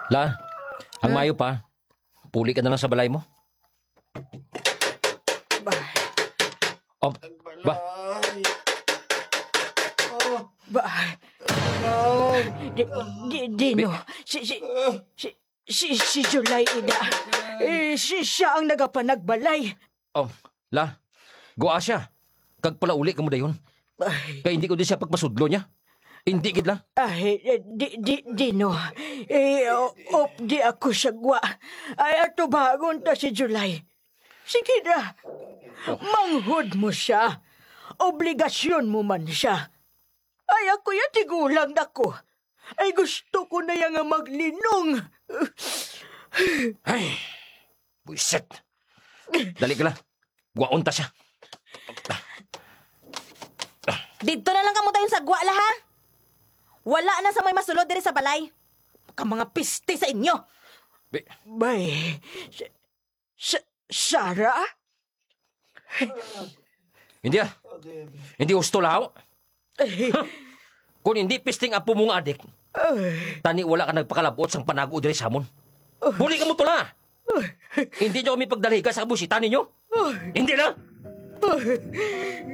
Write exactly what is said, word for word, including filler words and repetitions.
La, ang Ha? mayo pa, puli ka na lang sa balay mo. Ba, Oh, ba? Ba, di, di, Dino, si, si, si, si, si July, ida. Eh, si, siya ang nagapanagbalay. Oh, la, gua siya. Kag palauli ka mo dayon. Ay. Kay hindi ko di siya pagpasudlo niya. Hindi gid la. Ay, eh, di, di, Dino. Eh, o-, op di ako sa gwa. Ay, atubangon ta si July. Sige na. Manghod mo siya. Obligasyon mo man siya. Ay, ako ya tigulang na ko. Ay, gusto ko na ya nga maglinong. Ay, buisit. Dali ka la. Guwaon ta siya. Didto na lang kamo dayon sa gwa la, ha? Wala na sa may masulod diri sa balay. Ka mga piste sa inyo. Bi- Bay, sa, sa, Sarah? Hindi ah. Hindi husto, lahaw. Kung hindi pisting apo mo nga adik, Ay, tani wala ka nagpakalabot sang panago diri sa amon. Buli ka mo tula. Hindi nyo kami pagdaliga sa kabusita ninyo. Hindi na.